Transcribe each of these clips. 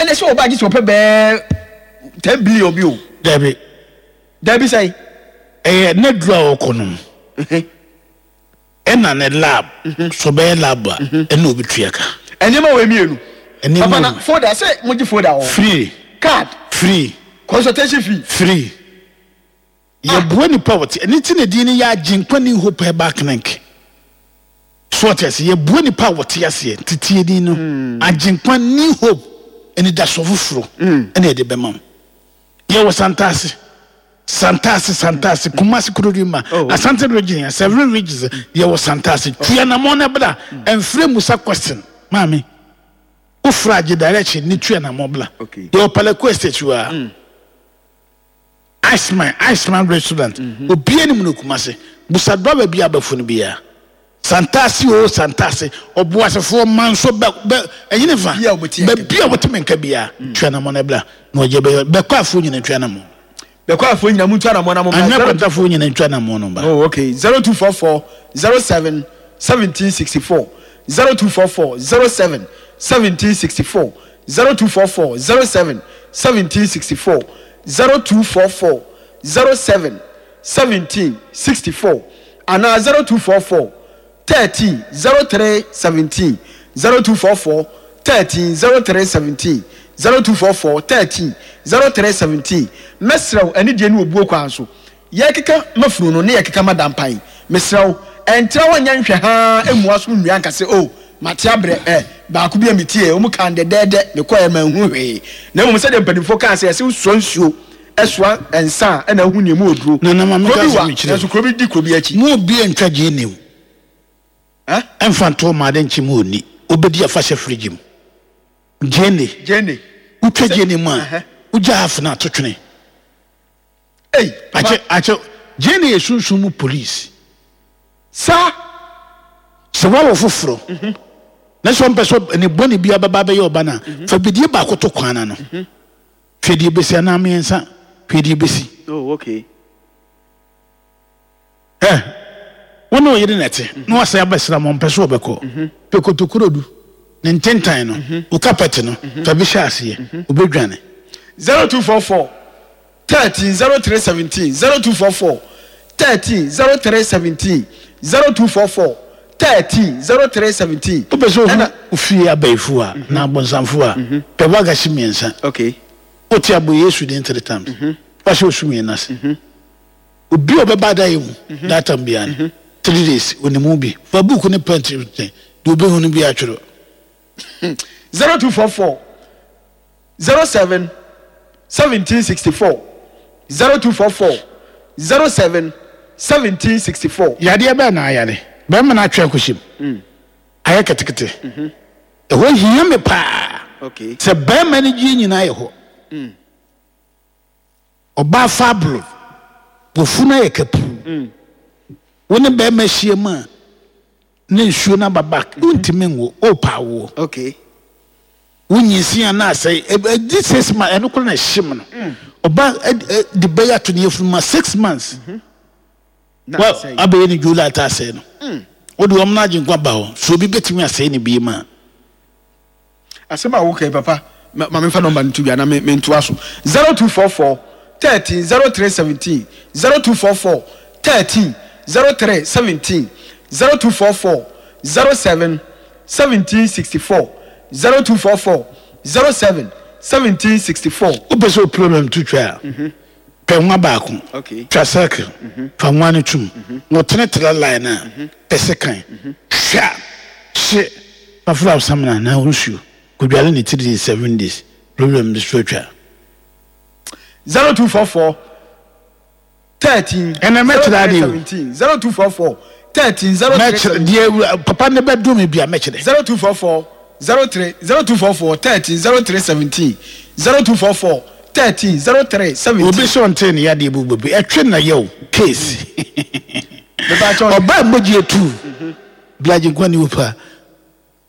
Ɛnna sɛ ɔba agye sɛ ɔpɛ bɛɛ 10 billion bi o. Dabi. Dabi sɛn? Ɛyɛ n'aduru a ɔkɔ nom. Ɛna ne lab. So ɔbɛyɛ lab a, ɛna obetua ka. Nneɛma wɔ mmienu. Nneɛma Papa na wɔ. folder sɛ mo gye folder wɔ hɔ. Free. Card. Free. Consultation fee. Free. Yɛboa nipa a wɔte ɛno nti na din no yɛ Agyenkwa New Hope Herbal Clinic. So ɔte ase? Yɛboa nipa a wɔte aseɛ nti tie din no Agyenkwa New Hope anidasoɔ foforɔ ɛna yɛde bɛma wo. Yɛwɔ Santase, Santase, Santase, Kumasi Kurodua Asante region, several regions yɛwɔ Santase. Tu anamɔn na bra, ɛmfrɛ musa question maame. Wofrɛ agye direction ne tu anamɔn bra. Yɛwɔ Palaku Estate hɔ a. Iceman, Iceman restaurant, obiara nim no Kumasi. Busa driver bi a abɛfo no biara. Santase oo Santase, ɔboasefoɔ manso bɛ bɛ ɛnyini fa. Baabi a wɔte me nka biara, tua anamɔ na bra na ɔgye bɛyɛ. Bɛkɔ afoɔ nyina ntua anamɔ. Bɛkɔ afoɔ nyina mu ntua anamɔ na mo mbra. Anwea kwantafoɔ nyina ntua anamɔ no mbra. Oh okay, 0244 07 1764, 0244 07 1764, 0244 07 1764, 0244 07 17 64 anaa 0244 13 03 17, 0244 13 03 17, 0244 13 03 17. Mɛsrɛ wo anidie ne obuo kwan so. Yɛrekeka ma funu no ne yɛrekeka ma dampan. Mesrɛ wo, ɛntra hɔ nyɛ nhwɛ haa mmua so nnua nka sɛ, Oh, mate abrɛ ɛ, baako bi a metieɛ, wɔn kaa no dɛdɛɛdɛ, mekɔeɛ manhu hwee. Na mmom sɛdeɛ mpanimfoɔ kaa sɛ, yɛse wosoa nsuo soa nsa a, ɛna wohu nea emu wɔ duro. Nana ma Kuro menka bi asɛm wa, nkyerɛ nanso wo. kuro bi di kuro bi akyi. Mo obiara ntwa gyeene o. Ɛ? Ɛmfa nto ma ade nkye mu onni. Wobɛdi afahyɛ fridge mu. Gyeene. Gyeene. Wotwa Sɛ, gyeene mu a, ɛhɛ. wogya half no ato twene. Ei, papa. Akyɛ, akyɛ, gyeene yɛ sunsum mu police. Saa. Sɛ woawo foforɔ na sɛ ɔmpɛ sɛ ne bɔne biara bɛba abɛyɛ ɔba no a, fa bidie baako to kwan no ano. Hwɛ deɛ ɛbɛsi anaa mmiɛnsa, hwɛ deɛ ɛbɛsi. Oh, okay. Ɛ, wo ne wo yere na ɛte, na wasan abɛsra mo, ɔmpɛ sɛ ɔbɛkɔ. Pɛ kotokurodu, ne ntentan no, wo kapɛte no, fa bi hyɛ aseɛ, ɔbɛdwane. 0244 13 03 17 0244 13 03 17 0244 13 03 17. Wopɛ sɛ Ɛna. wohu wo fie abayifoɔ a, anaa abonsamfoɔ a, pɛ wagahye mmiɛnsa. Okay. Wote a, bɔ Yesu din three times. Fa hyɛ wo sumii no ase. Obi a ɔbɛba adayɛ mu that time biara no, 3 days, onim wo bi. Fa book ne pen kyerɛ, deɛ obehu no biara twerɛ. 0244 07 1764 0244 07 1764. Yadeɛ bɛn na ayare bɛrima no atwe akɔhyɛ mu ayɛ ketekete? Ɛhɔ hia me paa sɛ bɛrima no gyeɛ nyinaa yɛ hɔ. Ɔbaa fablo, wafunu ayɛ kapuu. Wo ne bɛrima hyia mu a na nsuo no aba back, wontumi nwo, wopɛ awoɔ. Wo nyinsen a na asɛe, ɛdi 6 months, ɛno koraa na ɛhyem no. Ɔba de bɛyɛ ato ne yafunu ma 6 months. Wa abɛyɛ ne July ta asɛe no. Wode wɔn no agyenkwa ba hɔ, so obi bɛtumi asɛe ne bie ma a? Asɛm a woka yi papa, ma memfa nɔmba no to dwa na mentoa so. 0244 13 03 17, 0244 13 03 17, 0244 07 1764, 0244 07 1764. Wopɛ sɛ wo problem to twa a, pɛ nwa baako, twa circle, fa nwa no tom, na ɔtene tra line no a, pɛ sekan, twa, hye, fa fra wo samina anaa wo nsuo, kɔdware no 3 days, 7 days, problem no so atwa. 0244 13 Ɛnɛ mɛkyerɛ adeɛ o. 03 17 0244 13 03 Mɛkyerɛ 17. deɛ papa ne bɛdome bia mɛkyerɛ. 0244 03 0244 13 03 17 0244 13 03 17. Obi sɛ ɔntee ne yadeɛ bu bɛbi ɛtwe na yɛ o case. Mepakyɛw. Ɔbaa mogya etu bla Agyenkwa ni opa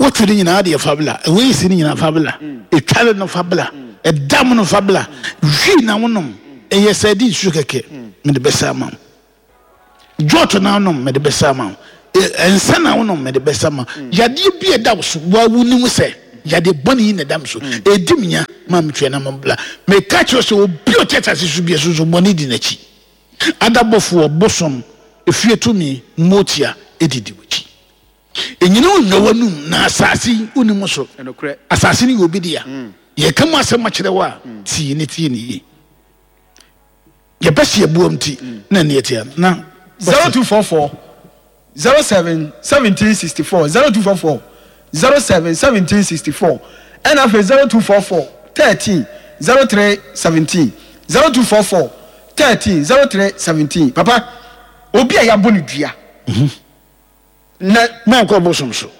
wotwe ne nyinaa deɛ fa bla ɛwɔ esi ne nyinaa fa bla etware no fa bla ɛdam no fa bla hwii na wonom ɛyɛ sɛ ɛde nsuo kɛkɛ mede bɛsa ama wo jɔt na wonom mede bɛsa ama wo nsa na wonom mede bɛsa ama wo yadeɛ bi ɛda wo so wa wonim sɛ. Yadeɛ bɔne yi na ɛda me so. Ɛredi me nya ma metua na mabla. Meka kyerɛ wo sɛ obi a ɔte asase so biara sunsum bɔne di n'akyi. Adabɔfoɔ, bosom, efie tumi, mmotia didi w'akyi. Ɛnyini wo nnwa w'anum na asase yi wonni mu so. Asase no yɛ obi dea. Yɛka mu asɛm akyerɛ wo a, tie ne tie ne yie. Yɛpɛ sɛ yɛboa nti na ɛne yɛte ha na. 0244 07 1764 0244 07 1764 ɛna afei 0244 13 03 17 0244 13 03 17 papa obi a yɛabɔ no dua na. Mɛnkɔ bosom so.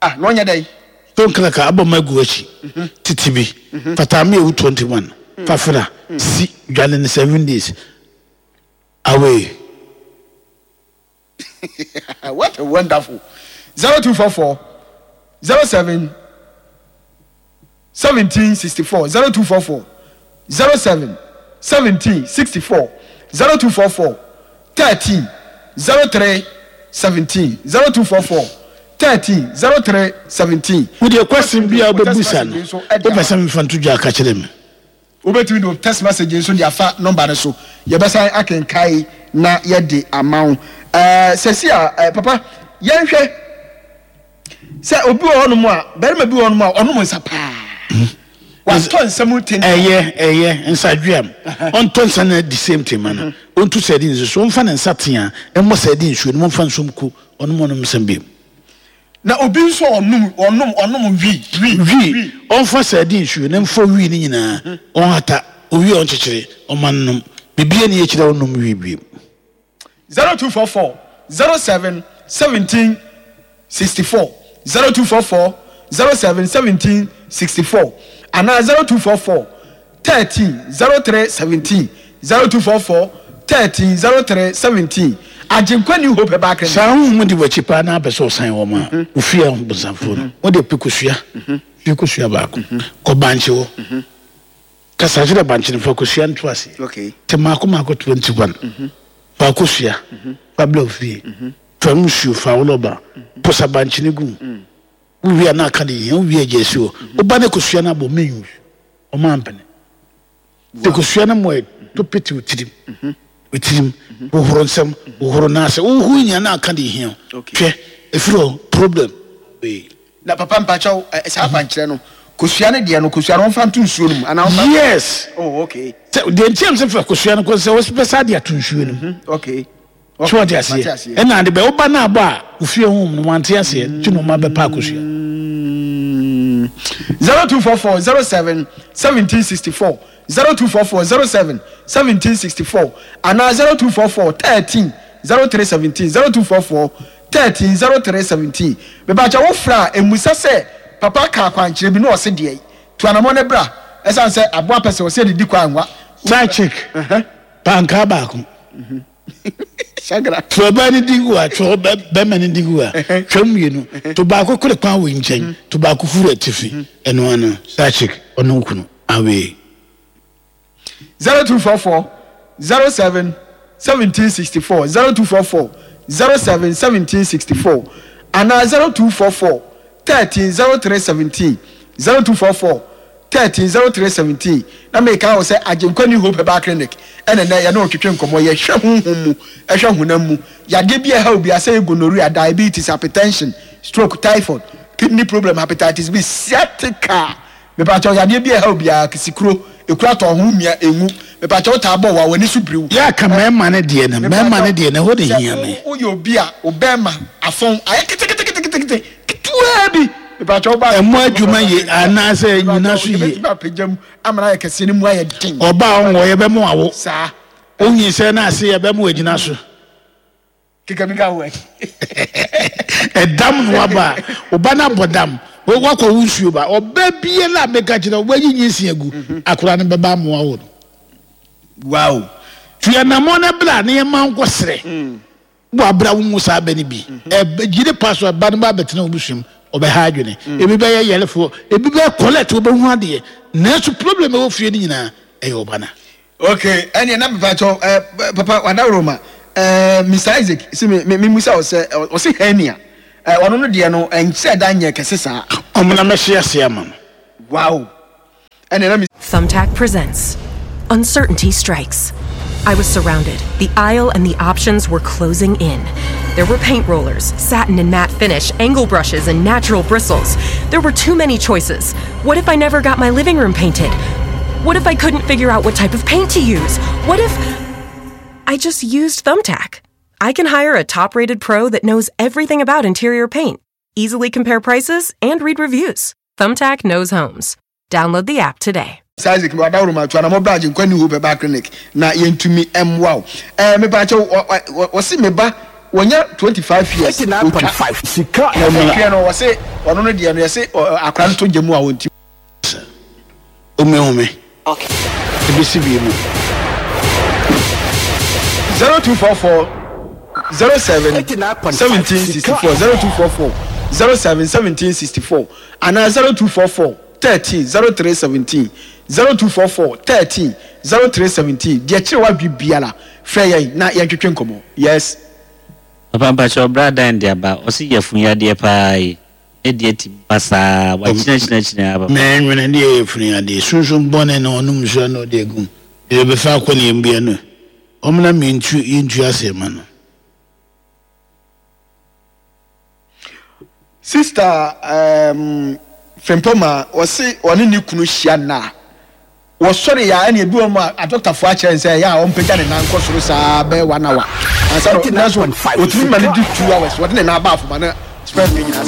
Ah na ɔnyɛ dɛn. Stone cracker abɔ ma gu akyi tete bi fata me ewu 21 fafra si dwane ne 7 days away. What a wonderful 0244 07 1764 0244 07 1764 0244 13 03 17 0244 13 03 17. Wo deɛ question bi a wobɛbusa no wopɛ sɛ memfa nto dwa a ka kyerɛ me. Wobɛtumi de wo text message nso de afa nɔmba no so. Yɛbɛsan akenkae na yɛde ama wo. Ɛɛ sɛsi a ɛɛ papa yɛnhwɛ sɛ obi wɔ hɔnom a barima bi wɔ hɔnom a ɔnom nsa paa. Watɔ nsa mu tenten. Ɛyɛ ɛyɛ nsadweam. Ɔntɔ nsa no the same thing ma no. Ɔntu sɛdi nso so. Ɔmfa ne nsa tea mmɔ sɛdi nsuo no mu ɔmfa nsuom ku ɔnom ɔnom nsa bio. Na obi nso a ɔnom ɔnom ɔnom wi wi Wi, ɔmfa sardine nsuo na mfɔ wi no nyinaa, ɔnhata, owie a ɔnkyekyere, ɔma no nom. Biribiara nni akyire a ɔnnom wi bio. 0244 07 17 64 0244 07 17 64 anaa 0244 13 03 17 0244 13 03 17 Agyenkwa New Hope Herbal Clinic. Saa honhom di w'akyi paa na apɛ sɛ ɔsan wɔn a, wo fie abonsamfoɔ no, wo deɛ pɛ kosua, fie kosua baako, kɔ bankye hɔ, kasa kyerɛ bankye no, fa kosua no to aseɛ, te mmaako mmaako 21, fa kosua, fa bla wo fie, fa nsuo, fa wo rɔba, posa bankye no gu mu, wo wie a na aka deɛ hia, wo wie a gya si hɔ, wo ba no kosua no abɔ, menwu. Ɔmo ampene. Nti kosua no mmoa to pete wo tirim. Wo tirim. Hohoro nsam, hohoro nan ase. Wohohoro nyinaa na aka deɛ ehia wo. Hwɛ, efiri hɔ, problem wei. Na papa mpakyɛw, ɛ saa akwankyerɛ no, kosua no deɛ no, kosua no wɔmfa nto nsuo no mu anaa wɔmfa. Yes. Oh, okay. Sɛ deɛ nti a mesɛ fa kosua no kɔ sɛ wɔbɛsa de ato nsuo no mu. Okay. So wate aseɛ? Ɛna ade bɛ woba no abɔ a ofie honhom no wante aseɛ nti na ɔma bɛpa akosua. 0244 07 1764 0244 07 1764 anaa 0244 13 03 17 0244 13 03 17 Mepakyɛ wo frɛ a mmusa sɛ papa ka akwankyerɛ bi na ɔse deɛn? Tu anamɔ no bra ɛsiane sɛ aboa pɛ sɛ ɔsɛ didi kɔ anwa. Side chick, pankaa baako. To ɔbaa no din gu ha, to bɛrima no din gu ha. Twa mu mmienu. To baako kore kwan wei nkyɛn, to baako firi atifi. Ɛno ano, side chick, ɔne wo kunu. Awee. 0244 07 1764 0244 07 1764 anaa 0244 13 03 17 0244 13 03 17 Na meka wo sɛ Agyenkwa New Hope Herbal Clinic ɛna nnɛ yɛne wo twetwe nkɔmmɔ. Yɛhwɛ honhom mu, ɛhwɛ honam mu yadeɛ bi a ɛha obiara sɛ ɛyɛ gonorrhea, diabetes, hypertension, stroke, typhoid, kidney problem, hepatitis B, sciatica. Mepakyɛw yadeɛ bi a ɛha obiara, kisikuro, ekuro atɔ ho mia, enwu. Mepakyɛw wo taa bɔ wa, w'ani so biriw. Yɛ aka mmarima no deɛ no, mmarima no deɛ no, ɛhɔ na ɛhia me. Sɛ woyɛ obi a wo bɛrima afɔn ayɛ keteketekete ketewaa bi, mepakyɛw wo ba. Ɛmmɔ adwuma ye anaasɛ nnyina so yie. Yɛbɛtumi apagya mu ama no ayɛ kɛseɛ no mu ayɛ den. Ɔbaa a ɔnwɔ yɛbɛma wawo. Saa. Onyinsɛn no ase yɛbɛma wagyina so. Keka bi ka ho ɛ. Ɛdam na waba a, wo ba no abɔ dam. Wakɔ wo nsuo ba. Ɔbaa biara a meka kyerɛ wo, wayi nyinsɛn agu, akwadaa no bɛba ama wawo no. Wow. Tu anammɔn na bra na yɛmma wo nkɔsrɛ. Wɔ abere a wonwo saa bɛ no bi, ɛgyina pa so a ba no ba abɛtena wo busua mu, ɔbɛha adwene. Ebi bɛyɛ yarefoɔ, ebi bɛyɛ collect, ɔbɛhu adeɛ. Nanso problem ɛwɔ fie no nyinaa, ɛyɛ ɔba no. Ok, ɛneɛ na mepakyɛw eh, papa wadaworo ma eh, Mister Isaac se me, me, me musa wo sɛ, ɔse hernia. Ɔno no deɛ no ɛnkyerɛ da nyɛ kɛse saa. Ɔmo na mɛhye ase ama no. Wow ɛnneɛ na me. Thumbtack presents Uncertainty Strikes. I was surrounded. The aisle and the options were closing in. There were paint rollers, satin and matte finish, angle brushes, and natural bristles. There were too many choices. What if I never got my living room painted? What if I couldn't figure out what type of paint to use? What if. I just used Thumbtack? I can hire a top rated pro that knows everything about interior paint, easily compare prices, and read reviews. Thumbtack knows homes. Download the app today. Sir Isaac mewɔ adaworo tu anamɔ bra Agyenkwa New Hope Herbal Clinic na yɛntumi mmoa wo. Ɛɛ mepaakyɛw wɔse me ba wɔnya 25 years otwa Sika na ɔtweɛ no wɔse ɔno no deɛ no yɛse akora no tɔ gya mu a ɔntumi. Omehu me. Ebesi bi mu. 0244 07 1764 0244 07 1764 anaa 0244 13 03 17 0244 13 03 17 Deɛ kyerɛ w'adwe biara frɛ yɛn na yɛntwetwe nkɔmmɔ. Yes. Papa mpakyɛw bra dan de aba ɔse yafun yadeɛ paa yi ne deɛ timi ba saa wakyinakyinakyina aa papa. Mɛnwene deɛ yɛ funu yadeɛ sunsum bɔne na ɔnom nsuo a na ɔde agu mu deɛ ɔbɛfa akɔ ne yam bia no ɔmena mentu yɛntu aseɛ ma no. Sister um, Frimpong ɔse ɔne ne kunu hyia nna a, wɔsɔre yɛ a ɛne ebi wɔn a adɔktafoɔ akyerɛ no sɛ ɛyɛ a ɔmpagya ne nan nkɔ soro saa bɛyɛ one hour ansa na nanso ɔtumi ma no di 2 hours wɔde ne nan ba afoma na sperm no nyinaa sa.